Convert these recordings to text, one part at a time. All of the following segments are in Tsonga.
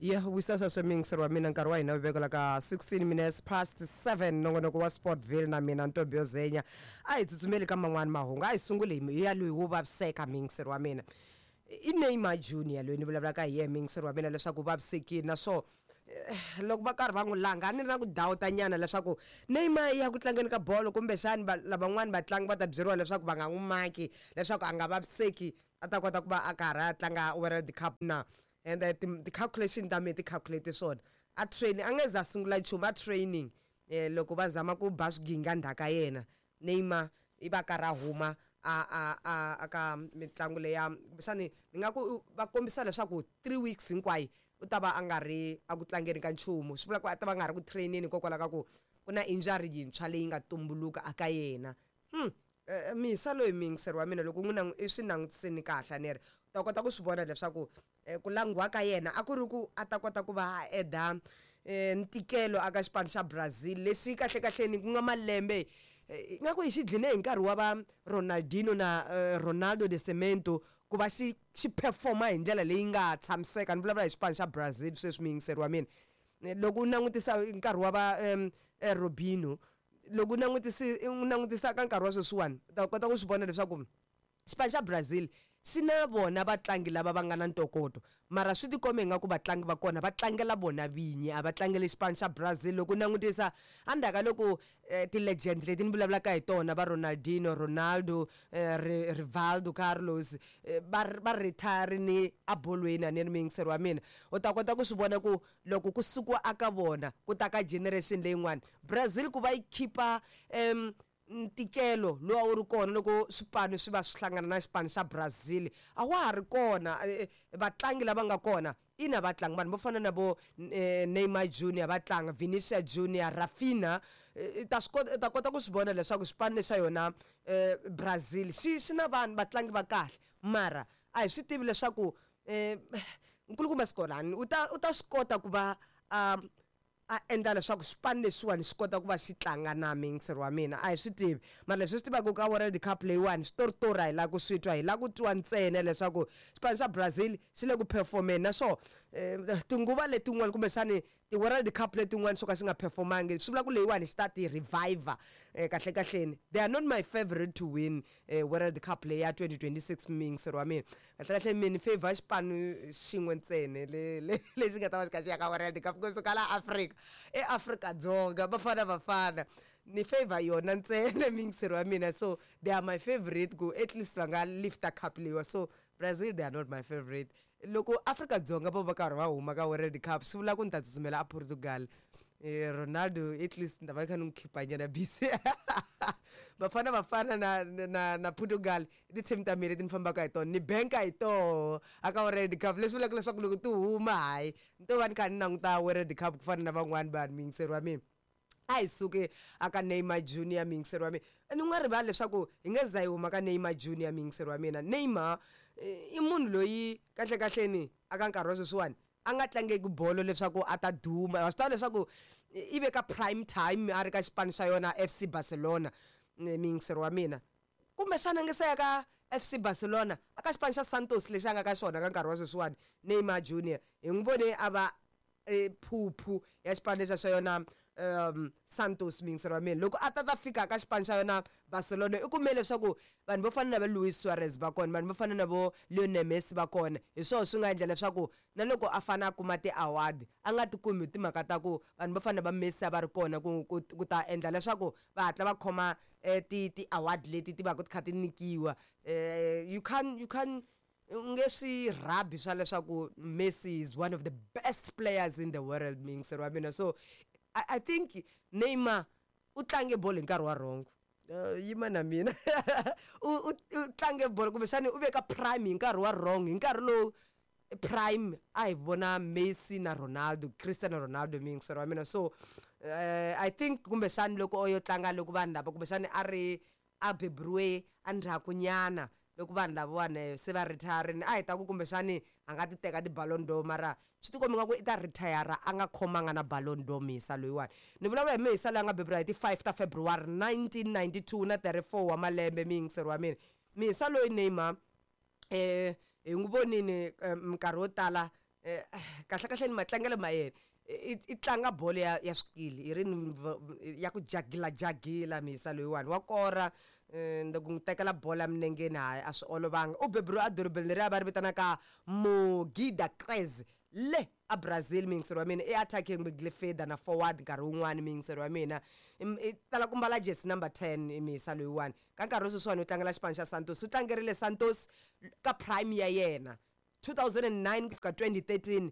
Ya wisa sweswo miyingiseri wa mina, nkarhi wa hina wu vekela ka 16 minutes past 7, nongonoko wa Sportville na mina Ntombhi Zenya. A hi tsutsumeli ka man'wani mahungu, a hi sunguli hi ya loyi wo vaviseka. Miyingiseri wa mina, i Neymar Junior loyi ni vulavulaka hi yena, miyingiseri wa mina, leswaku u vavisekile. Naswona loko va karhi va n'wi langa, a ni ri na ku dawuta nyana leswaku Neymar ya ku tlangeni ka bolo, kumbexani lavan'wani vatlangi va ta byeriwa leswaku va nga n'wi maki leswaku a nga vaviseki, a ta kota ku va a karhi a tlanga World Cup na. And ti-calculation ta mina ti calculate swona, a training a nge za sungula nchumu, a training loko va zama ku ba swiginga ndzhaka yena Neymar, i va karhi a huma a ka mitlangu leya. Kumbexani ni nga ku va kombisa leswaku 3 weeks hinkwayo u ta va a nga ri a ku tlangeni ka nchumu, swi vula ku a ta va nga ri ku trainini hikokwalaho ka ku ku na injury yintshwa leyi nga tumbuluka aka yena. Misa loyi, miyingiseri wa mina, loko n'wi i swi langutisini kahle, a ni ri u ta kota ku swi vona leswaku ku langiwa ka yena a ku ri ku a ta kota ku va a eda ntikelo aka xipano xa Brazil, lexi kahle kahleni ku nga malembe ingaku hi xi dline hi nkarhi wa va Ronaldinho na Ronaldo de Cemento ku va xi xi performa hi ndlela leyi nga tshamiseka. Ni vulavula hi xipano xa Brazil sweswi, miyingiseri wa mina. Loko u langutisa nkarhi wa va Robinho, loko u langutisa ka nkarhi wa sweswiwani, u ta kota ku swi vona leswaku xipano xa Brazil xi na vona vatlangi lava va nga na ntokoto, mara swi tikombe ingaku vatlangi va kona va tlangela vona vinyi, a va tlangeli xipano xa Brazil. Loko u langutisa endzhaku ka loko ti-legend leti ni vulavulaka hi tona, va Ronaldinho, Ronaldo, Rivaldo, Carlos, va retire-ini abolweni, a ni ri muyingiseri wa mina, u ta kota ku swi vona ku loko ku sukiwa aka vona ku ta ka generation leyin'wana, Brazil ku va yi khipa ntikelo lowu a wu ri kona loko swipano swi va swi hlangana na xipano xa Brazil a wa ha ri kona. Vatlangi lava nga kona, ina, vatlangi vanhu vo fana na vo Neymar Junior va tlanga, Vinicius Junior, Raphinha, ta swi kota, u ta kota ku swi vona leswaku xipano lexa yona Brazil xi na vanhu vatlangi va kahle, mara a hi swi tivi leswaku nkulukumba Skolani u ta swi kota ku va a endla leswaku xipano lexiwani xi kota ku va xi tlanga na. Miyingiseri wa mina, a hi swi tivi, mara leswi swi tivaka ka World Cup leyiwani, switoritori a hi lava ku swi twa, hi lava ku twa ntsena leswaku xipano xa Brazil xi le ku performeni. Naswona tinguva letin'wana, kumbexani ti-World Cup letin'wana swo ka xi nga performangi, swi vula ku leyiwani xi ta ti reviver. Kahle kahleni, they are not my favorite to win World Cup leyi ya 2026. Miyingiseri wa mina, kahle kahle mina favor xipano xin'we ntsena le le lexi nga ta va xi kha xi ya ka World Cup kusuka la Afrika, eAfrika-Dzonga, Bafana Bafana. Ni favor yona ntsena, miyingiseri wa mina. So they are my favorite ku at least va nga lifta cup leyiwa. So Brazil, they are not my favorite. Loko Afrika-Dzonga vo va karhi va huma ka World Cup, swi vula ku ni ta tsutsumela a Portugal. Ronaldo at least ni ta va kha ni n'wi khipa nyana busy. Bafana Bafana na Portugal i ti-team ta mina leti ni fambaka hi tona, ni banka hi toho aka World Cup, leswi vulaka leswaku loko ti huma, hayi, ni to va ni kha ni languta World Cup ku fana na van'wani vanhu. Miyingiseri wa mina, a hi suke aka Neymar Junior. Miyingiseri wa mina, ni nga rivali leswaku hi nge za hi huma ka Neymar Junior. Miyingiseri wa mina, Neymar i munhu loyi kahle kahleni aka nkarhi wa sweswiwani a nga tlangeki bolo leswaku a ta duma. Wa swi tiva leswaku i ve ka prime time a ri ka xipano xa yona FC Barcelona. Miyingiseri wa mina, kumbexana nge se ya ka FC Barcelona, a ka xipano xa Santos lexi a nga ka xona ka nkarhi wa sweswiwani, Neymar Junior hi n'wi vone a va phuphu ya xipano lexa xa yona Santos. Miyingiseri wa mina, loko a ta fika ka xipano xa yona Barcelona, i kume leswaku vanhu vo fana na va Luis Suarez va kona, vanhu vo fana na vo Lionel Messi va kona. Hi swona swi nga endla leswaku na loko a fane a kuma ti-award a nga ti kumi, hi timhaka ta ku vanhu vo fana na va Messi a va ri kona ku ta endla leswaku va hatla va khoma ti ti-award leti ti va ku ti kha ti nyikiwa. You can u nge swi rhabi swa leswaku Messi is one of the best players in the world, miyingiseri wa mina. So I think Neymar u tlange bolo hi nkarhi wa wrong. Yima na mina, u tlange bolo, kumbexani u ve ka prime hi nkarhi wa wrong, hi nkarhi lowu prime a hi vona Messi na Ronaldo, Cristiano Ronaldo, miyingiseri wa mina. So I think kumbexani loko o yo tlanga loko vanhu lava, kumbexani a ri a beburiwe endzhaku nyana loko vanhu lavawani se va retire, a hi ta ku kumbexani a nga ti teka ti-Ballon d'Or, mara swi tikomba nga ku i ta retire a nga khomanga na Ballon d'Or. Mihisa loyiwani ni vulavula hi mihisa loyi a nga beburiwa hi ti 5 ta February 1992 na 34 wa malembe. Miyingiseri wa mina, mihisa loyi Neymar, hi n'wi vonini minkarhi yo tala. Kahlekahle ni matlangelo ma yena i tlanga bolo ya swikili i ri ya ku jagila jagila. Mihisa loyiwani wa kora, loko n'wi tekela bolo eminengeni, hayi, a swi olovanga. U beburiwe edorobeni leri a va ri vitanaka Mogi da Cruz le a Brazil. Muyingiseri wa mina, i attacking midfielder na forward nkarhi wun'wani. Muyingiseri wa mina, i tala ku mbala jersey number 10. Mihisa loyiwani ka nkarhi wa sweswiwani u tlangela xipano xa Santos. U tlangerile Santos ka prime ya yena 2009 ku fika 2013.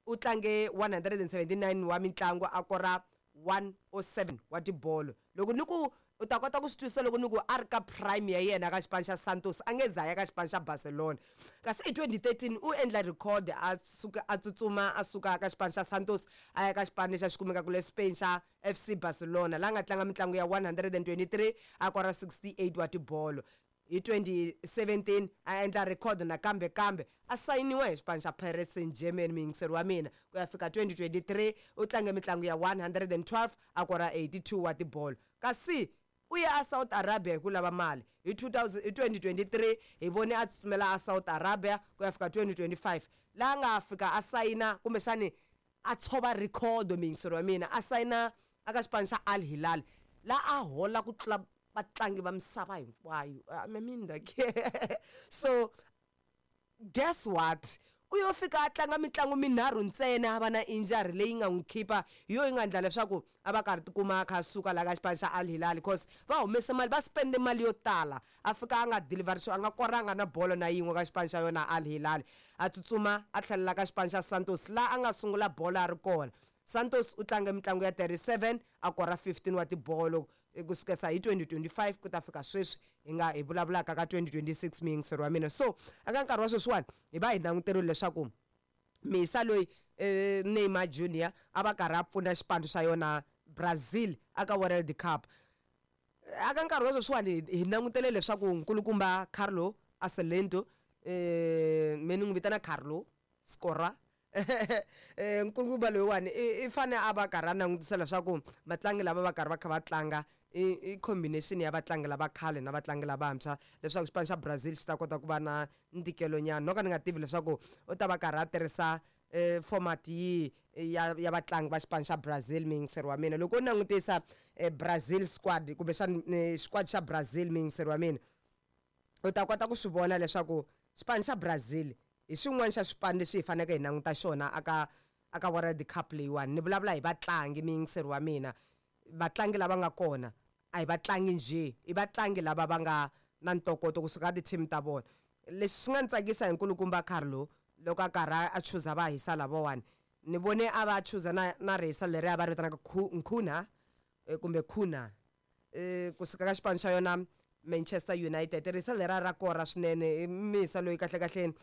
U tlange 179 wa mitlangu, a kora 107 wa tibolo. Loko ni ku u ta kota ku swi twisisa loko ni ku a ri ka prime ya yena ka xipano xa Santos, a nge za ya ka xipano xa Barcelona. Kasi hi 2013 u endla record, a suka a tsutsuma a suka ka xipano xa Santos a ya ka xipano lexi a xi kumekaka le Spain xa FC Barcelona, laha nga tlanga mitlangu ya 123, a kora 68 wa tibolo. Hi 2017 a endla record nakambe, kambe a sayiniwa hi xipano xa Paris Saint-Germain. Muyingiseri wa mina, ku ya fika 2023 u tlange mitlangu ya 112, a kora 82 wa tibolo. Kasi u ye a South Arabia hi ku lava mali. Hi 2000, hi 2023 hi vone a tsutsumela a South Arabia ku ya fika 2025, laha nga fika a sayina, kumbexani a tshova record. Muyingiseri wa mina, a sayina aka xipano xa Al Hilal, laha a hola ku tlula vatlangi va misava hinkwayo. I mean, like, so guess what, u yo fika a tlanga mitlangu minharhu ntsena, a va na injury leyi nga n'wi khipa, hi yo yi nga endla leswaku a va karhi tikuma a kha a suka laha ka xipano xa Al Hilal, because va humese mali, va spende mali yo tala, a fika a nga deliver a nga koranga na bolo na yin'we ka xipano xa yona Al Hilal. A tsutsuma a tlhelela ka xipano xa Santos, laha a nga sungula bolo a ri kona. Santos u tlange mitlangu ya 37, a kora 15 wa tibolo kusukela hi 2025 ku ta fika sweswi hi nga hi vulavulaka ka 2026. Muyingiseri wa mina, so eka nkarhi wa sweswiwani hi va hi languterile leswaku misa loyi, Neymar Junior, a va karhi a pfuna xipano xa yona Brazil aka World Cup. Aka nkarhi wa sweswiwani hi langutele leswaku nkulukumba Carlo Ancelotti, me ni n'wi vitana Carlo Scora, nkulukumba loyiwani i fane a va karhi a langutisa leswaku vatlangi lava va karhi va kha va tlanga i combination ya vatlangi lava khale na vatlangi lavantshwa, leswaku xipano xa Brazil xi ta kota ku va na ntikelo nyana. No ka ni nga tivi leswaku u ta va karhi a tirhisa format yihi ya vatlangi va xipano xa Brazil. Muyingiseri wa mina, loko u langutisa Brazil squad, kumbexana squad xa Brazil, muyingiseri wa mina, u ta kota ku swi vona leswaku xipano xa Brazil hi xin'wana xa swipano leswi hi faneleke hi languta xona aka World Cup leyiwani. Ni vulavula hi vatlangi, muyingiseri wa mina. Vatlangi lava nga kona a hi vatlangi njhe, i vatlangi lava va nga na ntokoto kusuka ka ti-team ta vona. Lexi xi nga ni tsakisa hi nkulukumba Carlo, loko a karhi a chuza va hisa lavawani, ni vone a va chuza na rhesa leri a va ri vitanaka Nkhuna, kumbe Khuna, kusuka ka xipano xa yona Manchester United. Risa lera ra kora swinene. I misa loyi kahle kahleni,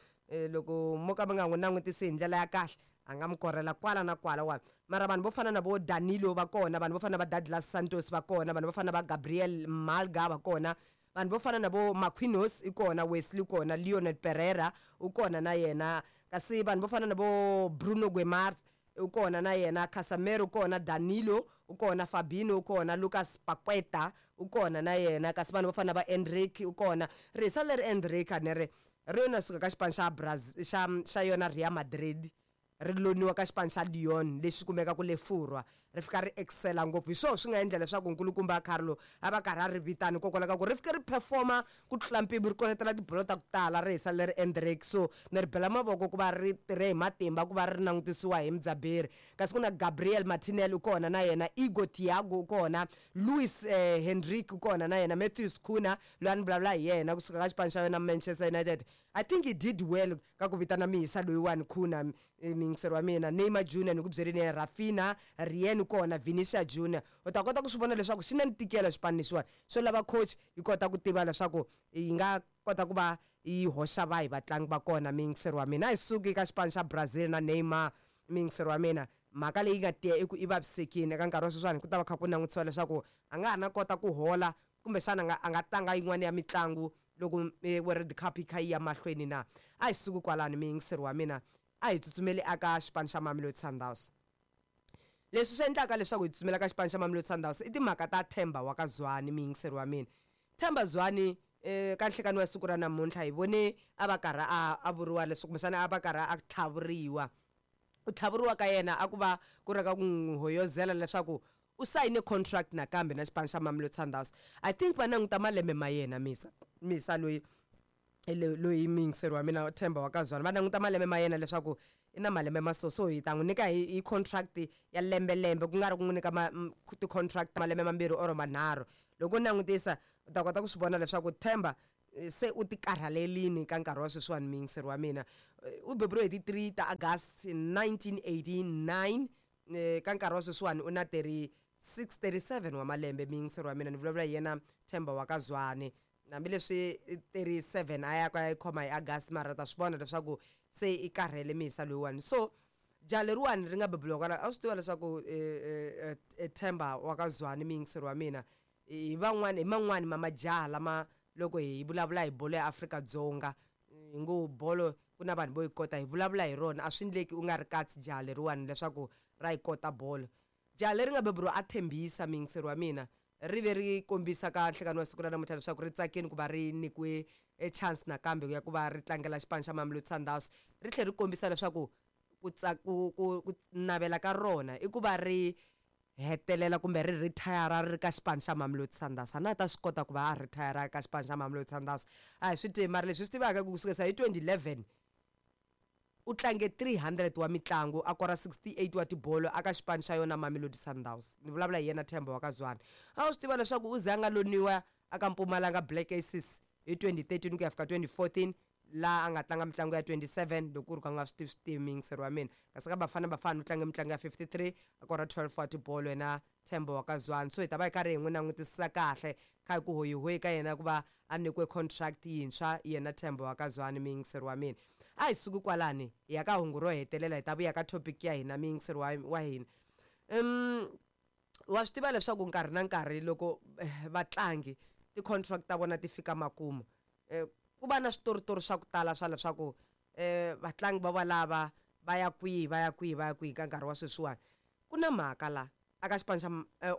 loko mo ka mi nga n'wi langutisi hi ndlela ya kahle, a nga mi korela kwala na kwala wa. Mara vanhu vo fana na vo Danilo va kona, vanhu vo fana na va Douglas Santos va kona, vanhu vo fana na va Gabriel Malga va kona, vanhu vo fana na vo Marquinhos i kona, Wesley kona, Leonard Pereira u kona na yena, kasi vanhu vo fana na vo Bruno Guimaraes u kona na yena, Casemiro u kona, Danilo u kona, Fabinho u kona, Lucas Paqueta u kona na yena, kasi vanhu vo fana na va Endrick u kona. Risa leri Endrick a ni ri ri yona suka ka xipano xa Brazil xa yona Real Madrid, ri loniwa ka xipano xa Lyon lexi kumekaka le Furwa, ri fika ri excela ngopfu. Hi swona swi nga endla leswaku nkulukumba Carlo a va karhi a ri vitana, hikokwalaho ka ku ri fike ri performa ku tlula mpimo, ri koletela tibolo ta ku tala, ri hisa leri Endrick. So ni ri bela mavoko ku va ri tirhe hi matimba ku va ri langutisiwa hi mudzaberi. Kasi ku na Gabriel Martinelli u kona na yena, Igor Thiago u kona, Luis Henrique u kona na yena, Matthews Cunha loyi a ni vulavula hi yena kusuka ka xipano xa yona Manchester United. I think he did well ka ku vitana mihisa loyiwani Cunha. Muyingiseri wa mina, Neymar Junior ni ku byeleni yena, Raphinha, Rien kona, Vinicius Junior. U ta kota ku swi vona leswaku xi na ntikelo xipano lexiwani, swo lava coach yi kota ku tiva leswaku yi nga kota ku va yi hoxa vahi vatlangi va kona. Muyingiseri wa mina, a hi suki ka xipano xa Brazil na Neymar. Muyingiseri wa mina, mhaka leyi nga tiya i ku i vavisekile. Eka nkarhi wa sweswiwani ku ta va kha ku langutisiwa leswaku a nga ha na kota ku hola, kumbexana a nga tlanga yin'wana ya mitlangu loko World Cup yi kha yi ya mahlweni na. A hi suki kwalani, muyingiseri wa mina, a hi tsutsumeli aka xipano xa Mamelodi Sundowns. Leswi swi endlaka leswaku hi tsutsumela ka xipano xa Mamelodi Sundowns i timhaka ta Themba wa ka Zwane. Muyingiseri wa mina, Themba Zwane, ka nhlekani wa siku ra namuntlha hi vone a va karhi a vuriwa leswi, kumbexana a va karhi a tlhavuriwa. Ku tlhavuriwa ka yena a ku va ku ri ka ku n'wi hoyozela leswaku u sayine contract nakambe na xipano xa Mamelodi Sundowns. I think va languta malembe ma yena Misa, Misa loyi loyi muyingiseri wa mina Themba wa ka Zwane, va languta malembe ma yena leswaku i na malembe ma so, so hi ta n'wi nyika hi contract ya lembe lembe, ku nga ri ku n'wi nyika ti-contract malembe mambirhi or manharhu. Loko u langutisa u ta kota ku swi vona leswaku Themba se u ti karhalelini ka nkarhi wa sweswiwani. Muyingiseri wa mina u beburiwe hi ti 3 ta August 1989, ka nkarhi wa sweswiwani u na 36 37 wa malembe. Muyingiseri wa mina, ni vulavula hi yena Themba wa ka Zwane. Hambileswi 37 a ya ka ya yi khoma hi August, mara ta swi vona leswaku se i karhele Misa loyiwani. So jaha leriwani ri nga beburiwa kwala, a swi tiva leswaku Themba wa ka Zwane, muyingiseri wa mina, hi van'wani hi man'wani ma majaha lama loko hi vulavula hi bolo ya Afrika-Dzonga, hi ngo bolo ku na vanhu vo yi kota, hi vulavula hi rona, a swi endleki u nga ri katsi jaha leriwani leswaku ra yi kota bolo. Jaha leri nga beburiwa a Tembisa, muyingiseri wa mina, ri ve ri kombisa ka nhlekani wa siku ra namuntlha leswaku ri tsakini ku va ri nyikiwe e chance nakambe ya ku va ri tlangela xipano xa Mamelodi Sundowns. Ri tlhela ri kombisa leswaku ku ku ku ku navela ka rona i ku va ri hetelela kumbe ri retire ri ri ka xipano xa Mamelodi Sundowns. A na ta swi kota ku va a retire ka xipano xa Mamelodi Sundowns, a hi swi tivi, mara leswi swi tivaka ku sukisa hi 2011 u tlange 300 wa mitlangu, a kora 68 wa tibolo aka xipano xa yona Mamelodi Sundowns. Ni vulavula hi yena Themba wa ka Zwane. A wu swi tiva leswaku u ze a nga loniwa aka Mpumalanga Black Aces hi 2013 ku ya fika 2014, laha a nga tlanga mitlangu ya 27, loko ku ri ku a nga swi tivi swi tivi, muyingiseri wa mina. Kasi ka Bafana Bafana u tlange mitlangu ya 53, a kora 12 wa tibolo yena Themba wa ka Zwane. So hi ta va hi karhi hi n'wi langutisisa kahle kha hi ku hoyihoyi ka yena ku va a nyikiwe contract yintshwa yena Themba wa ka Zwane, muyingiseri wa mina. A hi suki kwalani, hi ya ka hungu ro hetelela, hi ta vuya ka topic ya hina, muyingiseri wa hina. Wa swi tiva leswaku nkarhi na nkarhi loko vatlangi ti-contract ta vona ti fika makumu, ku va na switoritori swa ku tala swa leswaku vatlangi va valava va ya kwihi, va ya kwihi, va ya kwihi. Ka nkarhi wa sweswiwani ku na mhaka la aka xipano xa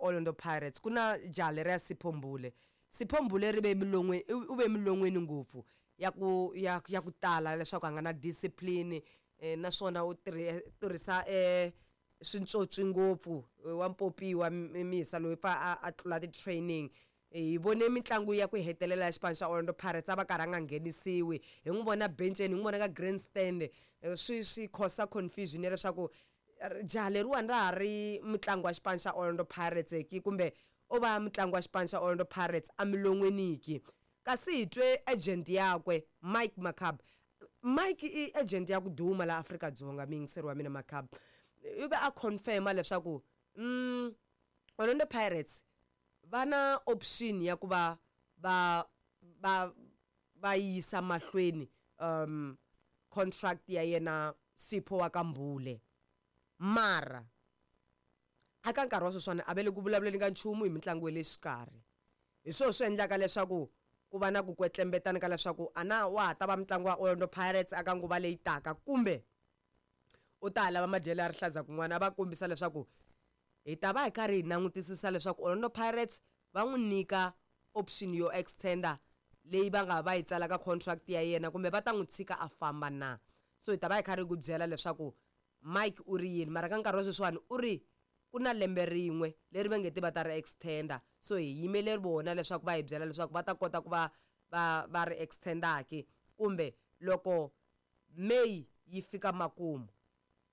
Orlando Pirates, ku na jaha leriya Sipho Mbule. Sipho Mbule ri ve milon'weni, u ve milon'weni ngopfu ya ku ya ya ku tala leswaku a nga na discipline, naswona u tirhisa swintswotswi ngopfu, wa mpopiwa Misa loyi pfa a tlula ti-training. Hi vone mitlangu ya ku hetelela ya xipano xa Orlando Pirates a va karhi a nga nghenisiwi, hi n'wi vona benceni, hi n'wi vona ka grandstand, swi cause confusion ya leswaku jaha leriwani ra ha ri mutlangi wa xipano xa Orlando Pirates ki, kumbe o va mutlangi wa xipano xa Orlando Pirates emilon'weni ki. Kasi hi twe agent yakwe Mike Makaab. Mike i agent ya ku duma la Afrika-Dzonga, muyingiseri wa mina. Makaab u ve a confirma leswaku Orlando Pirates va na option ya ku va va yisa mahlweni contract ya yena Sipho wa ka Mbule, mara aka nkarhi wa sweswiwani a va le ku vulavuleni ka nchumu hi mitlangu ya le xikarhi. Hi swona swi endlaka leswaku ku va na ku kwetlembetana ka leswaku a na wa ha ta va mutlangi wa Orlando Pirates aka nguva leyi taka, kumbe u ta ha lava madyelo ya rihlaza kun'wana. A va kombisa leswaku hi ta va hi karhi hi langutisisa leswaku Orlando Pirates va n'wi nyika option yo extender leyi va nga va yi tsala ka contract ya yena, kumbe va ta n'wi tshika a famba na. So hi ta va hi karhi hi ku byela leswaku Mike u ri yini, mara ka nkarhi wa sweswiwani u ri ku na lembe rin'we leri va nge te va ta ri extender, so hi yimele vona leswaku va hi byela leswaku va ta kota ku va va ri extender ki, kumbe loko May yi fika makumu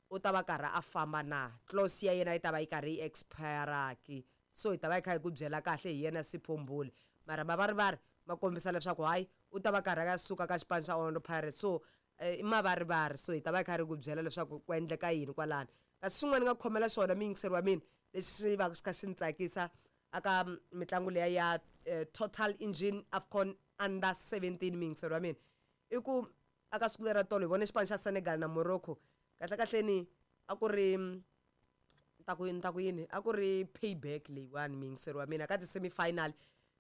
u ta va karhi a famba na, clause ya yena yi ta va yi karhi yi expire ki. So hi ta va hi kha hi ku byela kahle hi yena Sipho Mbule, mara mavarivari ma kombisa leswaku hayi, u ta va karhi a suka ka xipano xa Orlando Pirates. So i mavarivari, so hi ta va hi karhi hi ku byela leswaku ku endleka yini kwalano. Kasi xin'wana ni nga khomela xona, muyingiseri wa mina, lexi va xi kha xi ni tsakisa aka mitlangu liya ya Total Engine AFCON Under 17, muyingiseri wa mina, i ku aka siku lera tolo hi vone xipano xa Senegal na Morocco. Kahle kahleni a ku ri ta ku ta ku yini, a ku ri payback leyiwani, muyingiseri wa mina. Ka ti-semi-final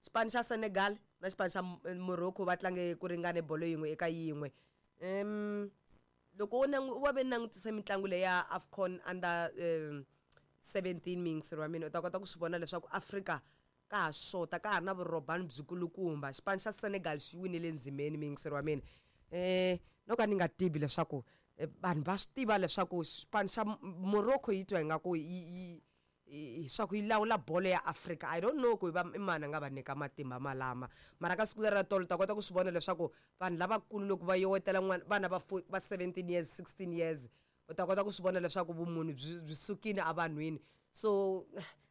xipano xa Senegal na xipano xa Morocco va tlange ku ringane bolo 1-1. Loko wo wa ve langutisa mitlangu leyi ya AFCON Under 17, muyingiseri wa mina, u ta kota ku swi vona leswaku Afrika ka ha xota, ka ha ri na vurhobani byikulukumba. Xipano xa Senegal xi winile ndzimeni, muyingiseri wa mina. No ka ni nga tivi leswaku Vanhu va swi tiva leswaku xipano xa Morocco yi twa ingaku yi yi swa ku yi lawula bolo ya Afrika. I don't know ku va i mani a nga va nyika matimba malama, mara ka siku leri ra tolo ta kota ku swi vona leswaku vanhu lavakulu loko va yowetela n'wana vana va va 17 years, 16 years, u ta kota ku swi vona leswaku vumunhu byi sukile evanhwini. So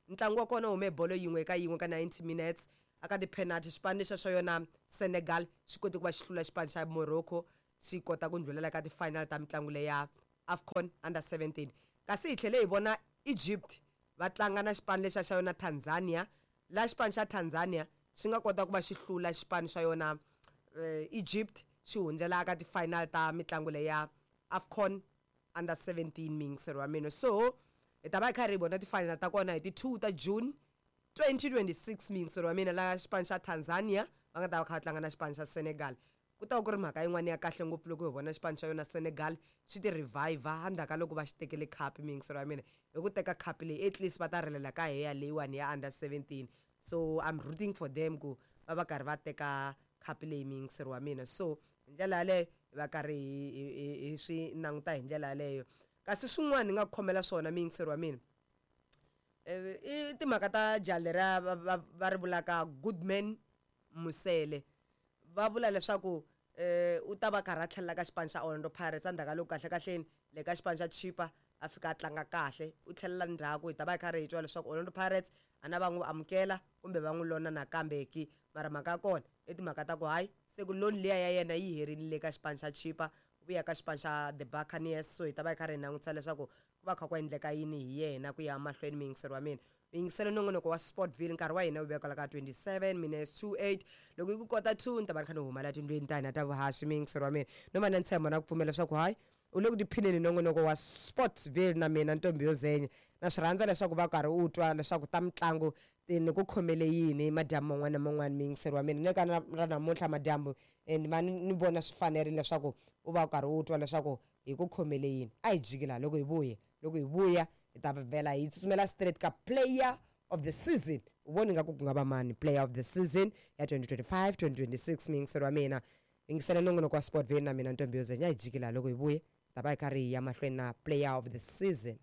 ntlangu wa kona wu hume bolo yin'we eka yin'we ka 90 minutes. Aka ti-penalty, xipano lexa xa yona Senegal xi kote ku va xi hlula xipano xa Morocco, xi kota ku ndlhulela ka ti-final ta mitlangu leya AFCON under 17. Kasi hi tlhele hi vona Egypt va tlanga na xipano lexa xa yona Tanzania, la xipano xa Tanzania xi nga kota ku va xi hlula xipano xa yona Egypt, xi hundzela ka ti-final ta mitlangu leya AFCON under 17, miyingiseri wa mina. So hi ta va hi karhi hi vona ti-final ta kona hi ti-2 ta June 2026, miyingiseri wa mina, la xipano xa Tanzania va nga ta va kha va tlanga na xipano xa Senegal. Ku ta va ku ri mhaka yin'wana ya kahle ngopfu loko hi vona xipano xa yona Senegal xi ti revive endzhaku ka loko va xi tekele khapi, miyingiseri wa mina. Hi ku teka khapi leyi, at least va ta rilela ka heya leyiwani ya under 17. So I'm rooting for them ku va va karhi va teka khapi leyi, miyingiseri wa mina. So hi ndlela yaleyo hi va karhi hi swi languta hi ndlela yaleyo. Kasi swin'wana ni nga ku khomela swona, miyingiseri wa mina, i timhaka ta jaha leriya va ri vulaka Goodman Mosele. Va vula leswaku u ta va karhi a tlhelela ka xipano xa Orlando Pirates endzhaku ka loko kahle kahleni le ka xipano xa Chippa a fika a tlanga kahle, u tlhelela ndzhaku. Hi ta va hi karhi hi twa leswaku Orlando Pirates a na va n'wi amukela kumbe va n'wi lona nakambe ki. Mara mhaka ya kona i timhaka ta ku hayi, se ku loan liya ya yena yi herile le ka xipano xa Chippa, u vuya ka xipano xa the Buccaneers. So hi ta va hi karhi hi langutisa leswaku ku va kha ku endleka yini hi yena ku ya mahlweni. Muyingiseri wa mina, u yingisele nongonoko wa Sportville. Nkarhi wa hina wu veka la ka 27 minutes to 8. Loko yi ku kota 2, ni ta va ni kha ni huma la tindlwini ta hina ta vuhaxi, muyingiseri wa mina. No va na ntshembo na ku pfumela leswaku hayi, u le ku tiphineni nongonoko wa Sportsville na mina Ntombi yo Zenya. Na swi rhandza leswaku va karhi u twa leswaku ta mitlangu ti ni ku khomele yini madyambu man'wana na man'wana, muyingiseri wa mina. Ne ka ra namuntlha madyambu ni va ni vona swi fanerile leswaku u va u karhi u twa leswaku hi ku khomele yini. A hi jiki laha, loko hi vuya hi ta vhela hi tsutsumela straight ka player of the season. U voni nga ku nga va mani player of the season ya 2025 2026, muyingiseri wa mina? Yingisela nongonoko wa Sportville na mina Ntombi yo Zenya. Hi jiki laha, loko hi vuye ta va hi karhi hi ya mahlweni na player of the season.